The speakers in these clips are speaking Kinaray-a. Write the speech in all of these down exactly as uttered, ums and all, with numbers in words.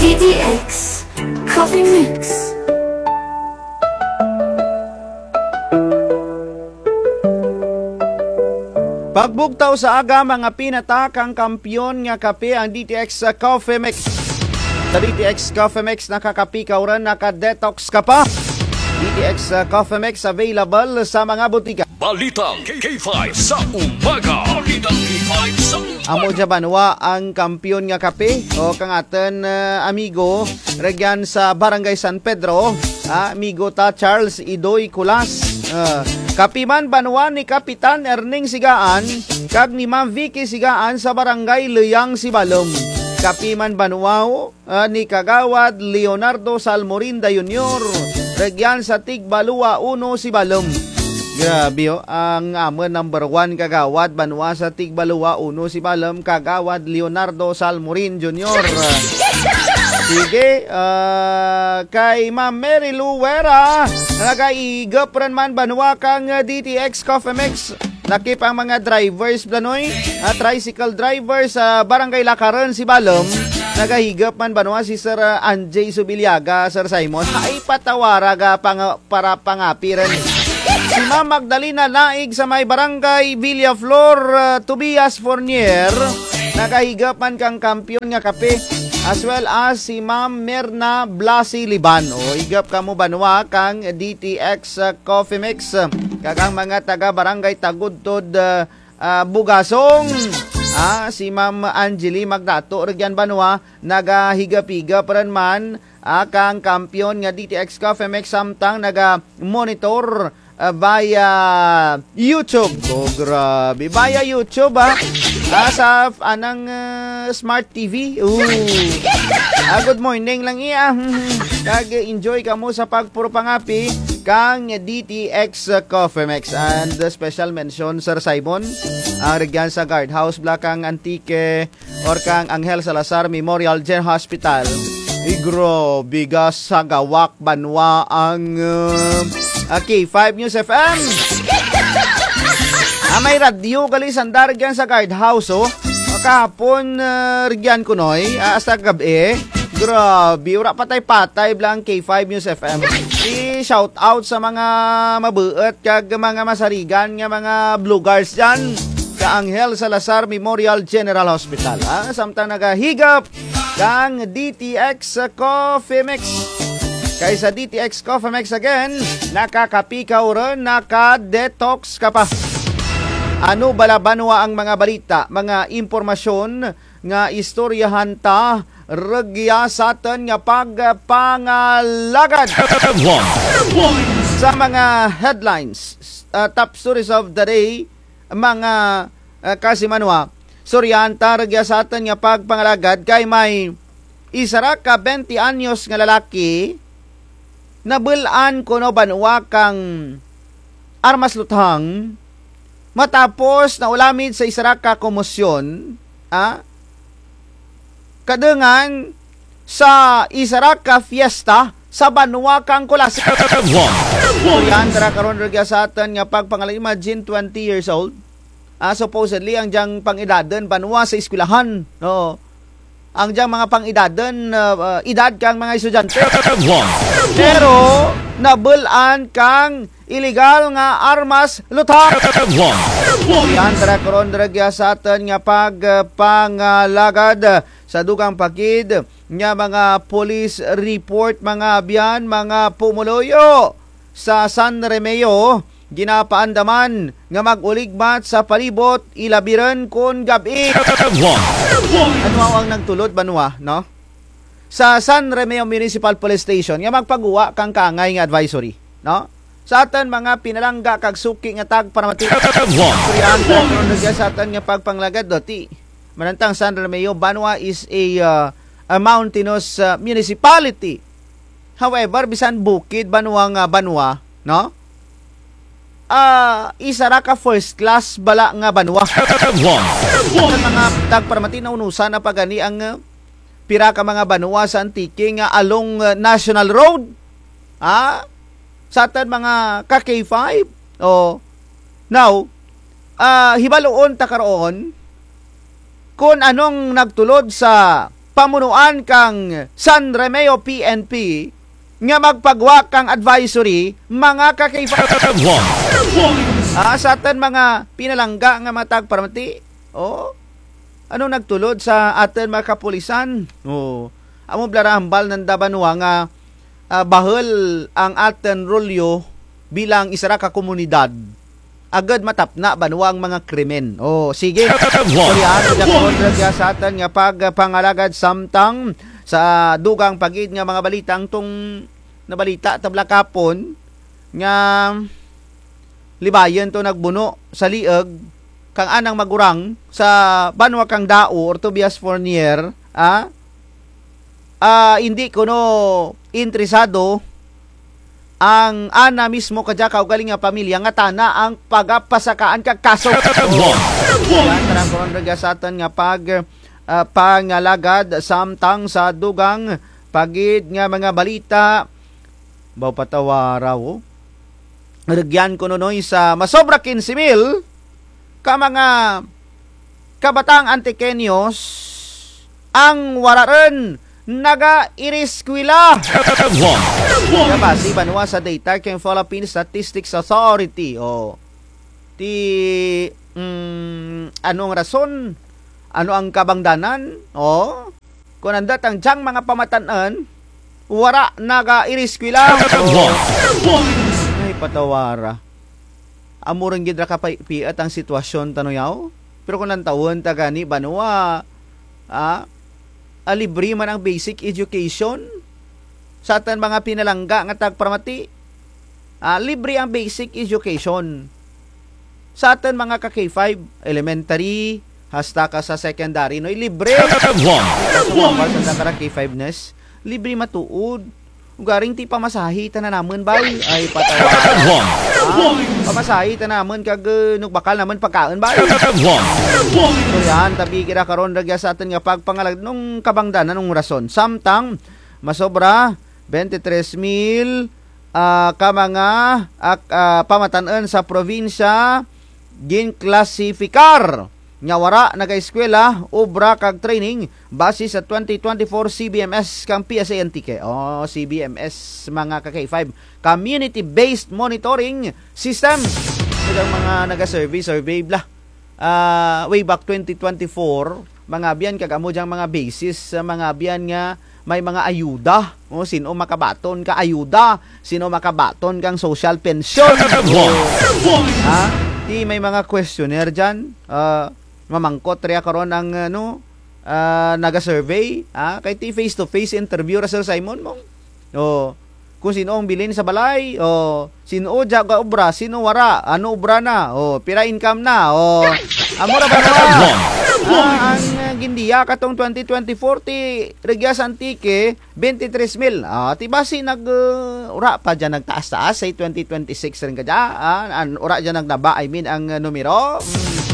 D T X Coffee Mix. Pagbugtaw sa aga, mga pinata kang kampiyon nga kape ang D T X Coffee Mix. Sa D T X Coffee Mix, nakakape ka o run, naka-detox ka pa. D T X Coffee Mix available sa mga butika. Balitang K five sa umaga. Balitang K five sa umaga. Amo dya banwa ang kampiyon nga kape, o kang atun, ah, amigo, rugyan sa Barangay San Pedro, ah, amigo ta Charles Idoy Culas. Ah, kape man banwa ni Kapitan Erning Sigaan, kag ni Ma'am Vicky Sigaan sa Barangay Luyang, Sibalom. Kape man banwa, o, ah, ni Kagawad Leonardo Salmorinda Junior, rugyan sa Tigbalua uno, Sibalom. Grabe, o, ang amun number one kagawad banwa sa Tigbalua uno, Sibalom, Kagawad Leonardo Salmorin Junior. Sige, ah, kay Ma'am Mary Lou Vera, nagaigup run man banwa kang, ah, D T X Coffee Mix. Lakip ang mga drivers, Blanoy. Ah, tricycle drivers sa Barangay Lacaron, Sibalom. Nagaigup man banwa si Sir, ah, Anjay Subiliaga, Sir Simon. Ay, patawara ga pang-, para pangape run. Si Ma'am Magdalena Laig sa may Barangay Villaflor, ah, Tobias Fornier. Nagaigup man kang kampiyon nga kape. As well as si Ma'am Merna Blasi Liban. O, igup kamo banwa kang D T X, ah, Coffee Mix. Kag ang mga taga Barangay Tagudtod, ah, ah, Bugasong. Ah, si Ma'am Angeli Magdato rugyan banwa, nagaigup-igup run man, ah, kang kampiyon nga D T X Coffee Mix samtang naga-monitor, ah, via YouTube. O, grabe. Via YouTube, ah. Ah, sa f-, anang, ah, Smart T V. Ooh. Ah, good morning lang iya. Kag enjoy kamo sa pagpuro pangape kang D T X Coffee Mix. And, ah, special mention, Sir Simon, ang rugyan sa guardhouse bala kang Antique or kang Angel Salazar Memorial General Hospital. Ay, grabe ga sagawak banwa ang, ah, ah, K five News F M. Ah, may radyo gali sanda rugyan sa guardhouse, o. Kahapon, ah, rugyan kunoy, ah, hasta gab-i. Grabe, wara patay-patay bala ang K five News F M. I-shout out sa mga mabuut kag mga masarigan nga mga bloggers dyan. Sa Angel Salazar Memorial General Hospital, ha? Samtang nagaigup kang D T X Coffee Mix. Kay sa D T X Coffee Mix again, nakakape ka o run, naka-detox ka pa. Ano bala banwa ang mga balita, mga impormasyon nga istoryahan ta rugya sa atun nga pagpangalagad? Headlines. Sa mga headlines, ah, top stories of the day, mga, ah, kasimanwa, istoryahan ta rugya sa atun nga pagpangalagad kay may isara ka bente anyos nga lalaki, nabul-an kuno banwa kang armas luthang, matapos naulamid sa isara ka komosyon, ah, kadungan sa isara ka fiesta sa banwa kang Culasi. Istoryahan ta ra karon rugya sa atun nga pagpangalagad, imagine, twenty years old. Ah, supposedly, ang dyang pang-edadun banwa sa eskwelahan. Oo. Ang dyang mga pang-edadun, ah, ah, edad kang mga estudyante. Pero, nabul-an kang iligal nga armas luthang. Istoryahan ta ra karon rugya sa atun nga pagpangalagad sa dugang pakid nga mga police report, mga abyan, mga pumuluyo sa San Remeo, ginapaandaman nga mag-uligmat sa palibot, ilabi run kon gab-i. Ano ang nagtulod, banwa, no? Sa San Remeo Municipal Police Station nga magpaguwa kang kaangay nga advisory, no? Sa atun mga pinalangga kag suki nga tagparamati. Istoryahan ta ra karon rugya sa atun nga pagpangalagad, do ti. Manantang San Remeo, banwa, is a, uh, a mountainous, uh, municipality. However, bisan bukid banwa nga banwa, no? Ah, isara ka first class bala nga banwa. Sa mga tagparamati, naunusan na pa gani ang, uh, pira ka mga banwa sa Antique nga along, uh, National Road. Ah, sa atun mga ka K five. O, now, ah, hibaluon ta karon kon anong nagtulod sa pamunuan kang San Remeo P N P nga magpagwa kang advisory, mga ka-K five. Ah, sa atun mga pinalangga nga mga tagparamati. Oh. Ano nagtulod sa atun mga kapulisan? Oh. Amo bala ra hambal nanda banwa nga, ah, bahul ang atun rulyo bilang isara ka komunidad. Agud matapna banwa ang mga krimen. Oh, sige. Sorry, ah, sa atun nga pagpangalagad samtang sa dugang pa gid nga mga balita ang tong nabalita ta bala kahapon nga libayun to nagbuno sa liug kang anang magurang sa banwa kang Dao, Ortobias Fornier, ah, ah, indi kuno interesado ang ana mismo kadya kaugaling nga pamilya nga tana ang pagapasakaan kag kaso. Yan, tara, karon rugya sa atun nga pag, ah, pangalagad samtang sa dugang pa gid nga mga balita. Baw patawara, oh. Rugyan kuno, Noy, sa masobra kinse mil ka mga kabataang Antiqueños ang wara run nagaireskwela. Nga base banwa sa data kang Philippine Statistics Authority, oh. Ti, mm, ano ang rason? Ano ang kabangdanan? Oh. Kon anda tang dyang mga pamatan-un, wara nagaireskwela. Ay, patawara. Amo run gid ra kapiat ang sitwasyon ta, no, yaw. Pero kon lantawun ta gani banwa, ah, ah, libre man ang basic education sa atun mga pinalangga nga tagparamati. Ah, libre ang basic education. Sa atun mga ka-K five, elementary, hasta ka sa secondary, Noy, libre. Sa mga K five, Nes, libre matuod. Ugaring ti pamasahe tana namun, bay. Ay, patawara. Ah, pamasahe tana namun kag, uh, nukbakal namun pagkaun, bay. So, yan, tabi kira karon rugya sa atun nga pagpangalagad nung kabangdanan nung rason. Samtang, masobra, bente tres mil, ah, ka mga, ak-, ah, pamatan-un sa probinsya, ginklasipikar nga wara nagaeskwela, obra kag training base sa twenty twenty-four C B M S kang P S A Antique. Oh, C B M S, mga ka-K five, Community Based Monitoring System. Kag ang mga naga-survey-survey bala, ah, way back twenty twenty-four, mga abyan, kag amo dyang mga basis sa mga abyan nga may mga ayuda. O, sin-o makabaton ka ayuda, sin-o makabaton kang social pension. Ha? Ti may mga questionnaire dyan. Ah, mamangkot rya karon ang, ano, ah, naga-survey. Ha? Kay ti face-to-face interview ra, Sir Simon, mong. O, kung sin-o ang bilin sa balay, o, sin-o dya gaobra, sin-o wara, ano obra na, o, pira income na, o, amo ra ba na? Ah, ang, ah, gindiya katong twenty twenty-four ti rugya sa Antique, bente tres mil. Ah, ti basi nag, ah, wara pa dyan nagtaas-taas sa twenty twenty-six run kadya, ah, an-, wara dyan nagnaba, I mean, ang, ah, numero. Mm.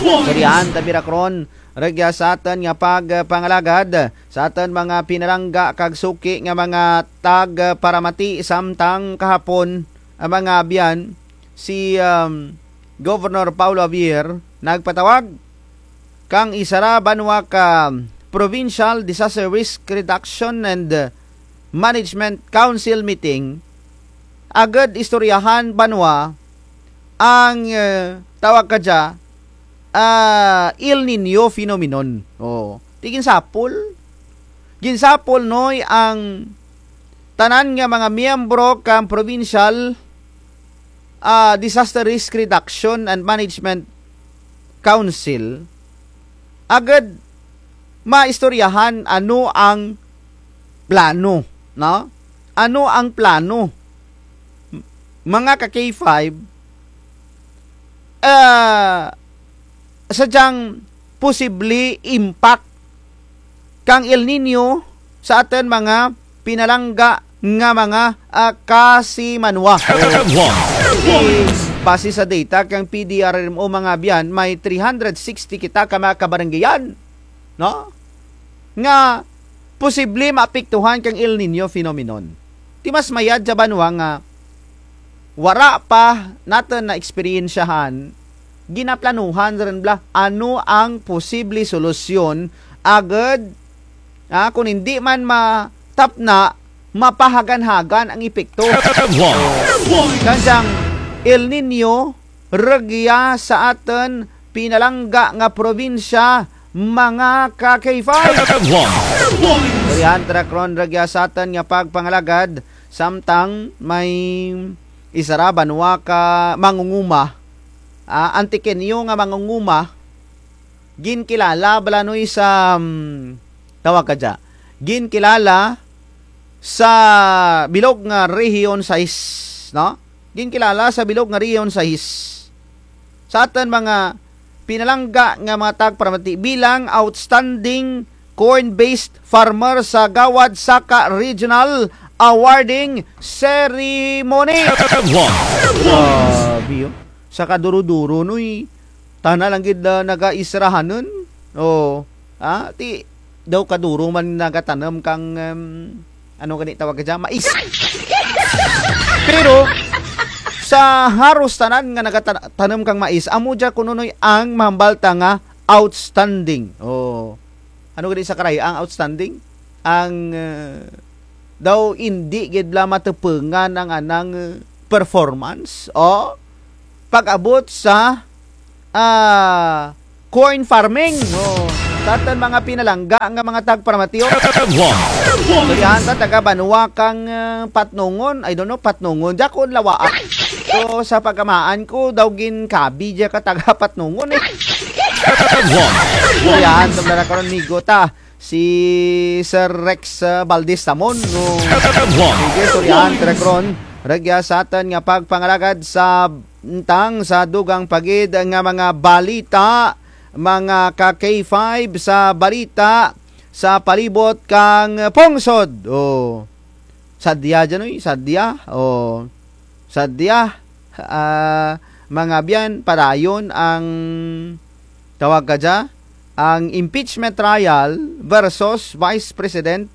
Sorry, han, tabi ra karon. Rugya sa atun nga pagpangalagad sa atun mga pinalangga kag suki nga mga tagparamati samtang kahapon, ang mga abyan, si, um, Governor Paulo Javier nagpatawag kang isara banwa ka Provincial Disaster Risk Reduction and Management Council meeting, agud istoryahan banwa ang, eh, tawag kadya, ah, El Niño phenomenon. O, ti ginsapol. Ginsapol, Noy, ang tanan nga mga miyembro kang Provincial, ah, Disaster Risk Reduction and Management Council, agud maistoryahan ano ang plano, no? Ano ang plano, mga ka-K five, ah, sa dyang posible impact kang El Niño sa atun mga pinalangga nga mga, ah, kasimanwa. Ti, base sa data kang P D R R M O, mga abyan, may three hundred sixty kita ka mga kabaranggayan, no? Nga posible maapektuhan kang El Niño phenomenon. Ti mas mayad dya banwa nga wara pa natun naeksperyensyahan, ginaplanuhan run bala ano ang posible solusyon, agud, ah, kon indi man matapna, mapahagan-hagan ang epekto. Kang dyang El Niño, rugya sa atun pinalangga nga probinsya, mga ka-K five. Durihan ta ra karon rugya sa atun nga pagpangalagad, samtang may isara banwa ka mangunguma, ah, Antiqueño nga mangunguma, ginkilala bala noy sa, mm, tawag kadya, ginkilala sa bilog nga Rehiyon sais, no? Ginkilala sa bilog nga Rehiyon sais. Sa atun mga pinalangga nga mga tagparamati bilang outstanding corn-based farmer sa Gawad Saka Regional Awarding Ceremony. Grabe, oh. Sa kaduro-duro, noy. Tana lang gid, ah, nagaisrahanun. Oh. Ah, ti, daw kaduro man nagatanum kang, em, ano gani tawag kadya? Mais. Pero, sa haros tanan nga nagata-, tanum kang mais, amo dya kuno noy ang mahambal ta nga outstanding. Oh. Ano gani sa Karay-a ang outstanding? Ang, eh, daw indi gid la matupungan ang anang, eh, performance o pag-abot sa, ah, corn farming. Oh, sa atun mga pinalangga nga mga tagparamati. Durihan ta taga banwa kang, eh, Patnongon. I don't know, Patnongon. Dya ko lawaa. So, sa pagkamaan ko, daw ginkabi dya ka taga Patnongon, eh. Durihan ta ra karon, migo ta. Si Sir Rex, ah, Valdez Samon, no? Sige, durihan ta ra karon. Rugya sa atun nga pagpangalagad samtang sa dugang pa gid nga mga balita, mga ka-K five, sa balita sa palibot kang pungsod. Oh. Sadya dyan, uy, sadya. Oh. Sadya, ah, mga abyan, padayon ang tawag kadya, ang impeachment trial versus Vice President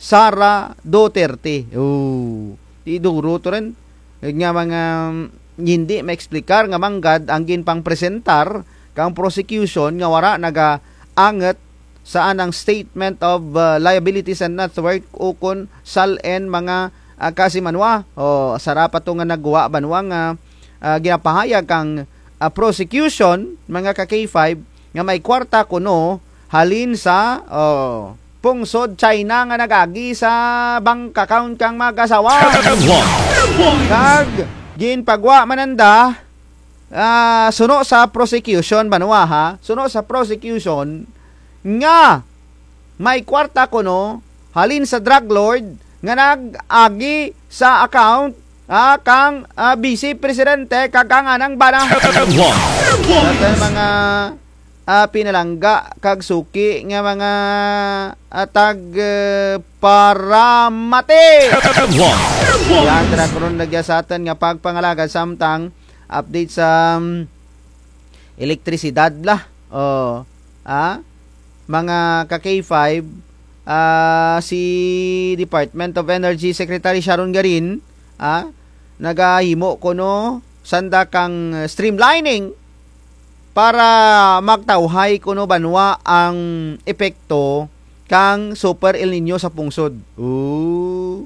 Sara Duterte. Oh, ti duro to run. Nga mga, mm, indi maeksplikar nga manggad ang ginpangpresentar kang prosecution nga wara nagaangut sa anang statement of, uh, liabilities and net worth ukon SALN mga, ah, kasimanwa. O, sara pa to nga naggwa banwa nga, ah, ginapahayag kang, ah, prosecution, mga ka-K five, nga may kwarta kuno halin sa, o, pungsod China nga nag-agi sa bank account kang mag-asawa. Kag ginpagwa man nanda, ah, suno sa prosecution, banwa, ha? Suno sa prosecution nga may kwarta kuno halin sa drug lord nga nag-agi sa account, ah, kang, ah, Vice Presidente kag kang anang bana. Sa atun mga, ah, pinalangga kag suki nga mga, ah, tag, eh, paramati. Durihan ta ra karon rugya sa atun nga pagpangalagad samtang update sa, um, elektrisidad bala. O, ah, mga ka-K five, ah, si Department of Energy Secretary Sharon Garin, ah, nagahimo kuno sanda kang streamlining para magtawhay kuno banwa ang epekto kang Super El Niño sa pungsod. O,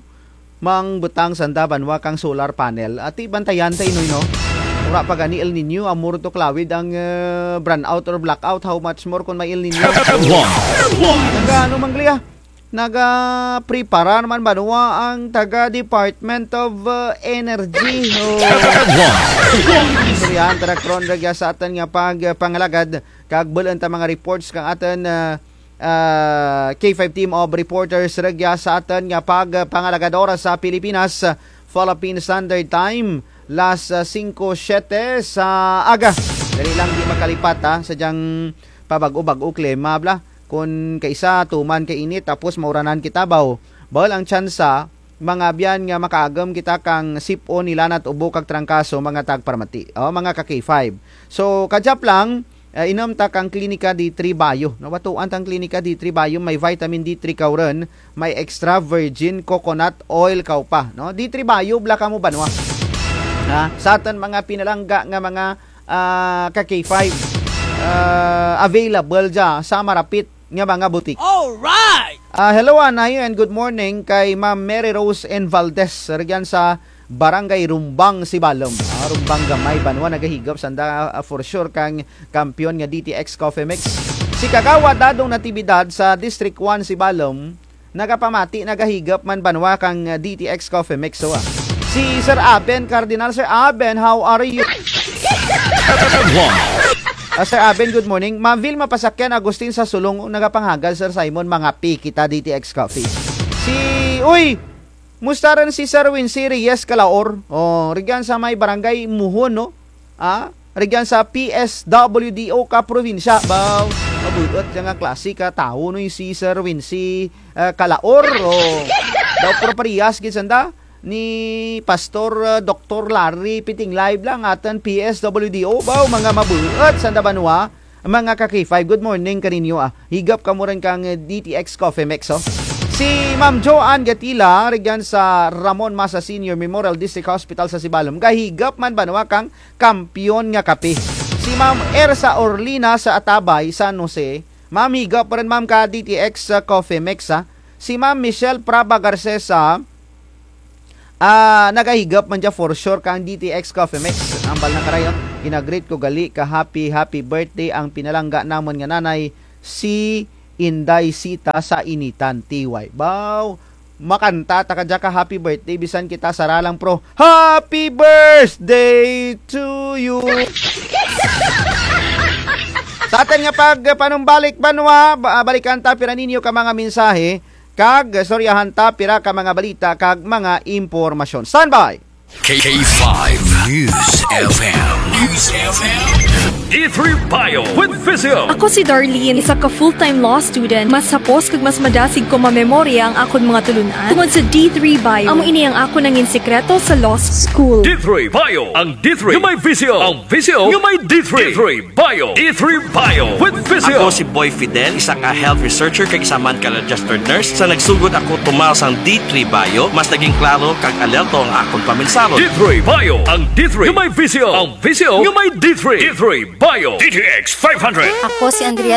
mangbutang sanda banwa kang solar panel. Ati bantayan ta, Inoy, no? Wara pa gani El Niño, amo run to kalawid ang, eh, brownout or blackout, how much more kon may El Niño? Nagaano man gali, ah? Nagapreparar man banwa ang taga Department of, uh, Energy. O. Durihan ta ra karon rugya sa atun nga pagpangalagad kag bul-un ta mga reports kang atun, uh, uh, K five team of reporters rugya sa atun nga pagpangalagad. Oras sa Pilipinas, uh, Philippine Standard Time, las, uh, singko siyete sa aga. Dali lang, di makalipat, ha, sa dyang pabag-o-bag-o klima bala. Kon kaisa tuman kainit, tapos mauranan kita, baw. Bahul ang tsansa, mga abyan, nga makaagum kita kang sip-on, nilanat, ubo kag trangkaso, mga tagparamati. O, mga ka-K five. So, kadyap lang, eh, inum ta kang Klinika D three Bio. No, batuan ta ang Klinika D three Bio, may vitamin D three kaw run, may extra virgin coconut oil kaw pa, no? D three Bio bala kamo banwa. Ha? Sa atun mga pinalangga nga mga, ah, ka-K five, ah, available dya sa marapit nga mga butik. Alright! Ah, hello, Anay, and good morning kay Ma'am Mary Rose N. Valdez, rugyan sa Barangay Rumbang, Sibalom. Ah, Rumbang Gamay, banwa, nagahigop sanda, ah, for sure, kang kampiyon nga D T X Coffee Mix. Si Kagawad Dadong Natividad sa District one, Sibalom, nagapamati, nagahigop man banwa kang, ah, D T X Coffee Mix, so, ah. Si Sir Aben Cardinal, Sir Aben, how are you? Ah, Sir Aben, good morning. Ma'am Vilma Pasakyan Agustin sa Sulong, nagapanghagad, Sir Simon, mangapi kita D T X Coffee. Si, uy! Musta run si Sir Wincy Reyes Calaor? Oh, rugyan sa may barangay Muhon, no? Ah, rugyan sa P S W D O ka probinsya. Baw, mabuot dya nga klase ka tawo, no, si Sir Wincy, eh, Calaor, oh. Daw proparehas gid sanda ni Pastor, eh, Doktor Larry Pitinglay bala ang atun P S W D O. Baw, mga mabuot sanda banwa. Mga ka-K five, good morning kaninyo, ah. Higop kamo run kang, eh, D T X Coffee Mix, oh. Si Ma'am Joanne Gatila, rugyan sa Ramon Masa Senior Memorial District Hospital sa Sibalom, gahigop man banwa kang kampiyon nga kape. Si Ma'am Ersa Orlina sa Atabay, San Jose, ma'am, higop run, ma'am, ka D T X, ah, Coffee Mix, ah. Si Ma'am Michelle Praba Garcesa, ah, nagahigop man dya for sure kang D T X Coffee Mix. Ambal na karayon, gina-greet ko gali ka happy, happy birthday ang pinalangga namun nga nanay, si Inday Sita sa Initan, T Y. Baw, makanta ta kadya ka happy birthday, bisan kita sara lang, pro. Happy birthday to you. Sa atun nga pagpanumbalik banwa, ba-, balikan ta pira ninyo ka mga mensahe. Kag istoryahan ta pira ka mga balita kag mga impormasyon. Standby! K five News F M. News F M. D three Bio with Visio. Ako si Darlene, isa ka full-time law student. Mas hapos kag mas madasig ko mamemorya ang akon mga tulun-an tungod sa D three Bio. Amo ini ang akon nangin sikreto sa law school. D three Bio, ang D three nga may Visio. Ang Visio nga may D three. D three Bio. D three Bio with Visio. Ako si Boy Fidel, isa ka health researcher kag isa man ka registered nurse. Sa nagsugod ako tumaw sang D three Bio, mas naging klaro kag alerto ang akon paminsahon. D three Bio, ang D three nga may Visio. Ang Visio nga may D three. D three Bio. D T X five hundred. Ako si Andrea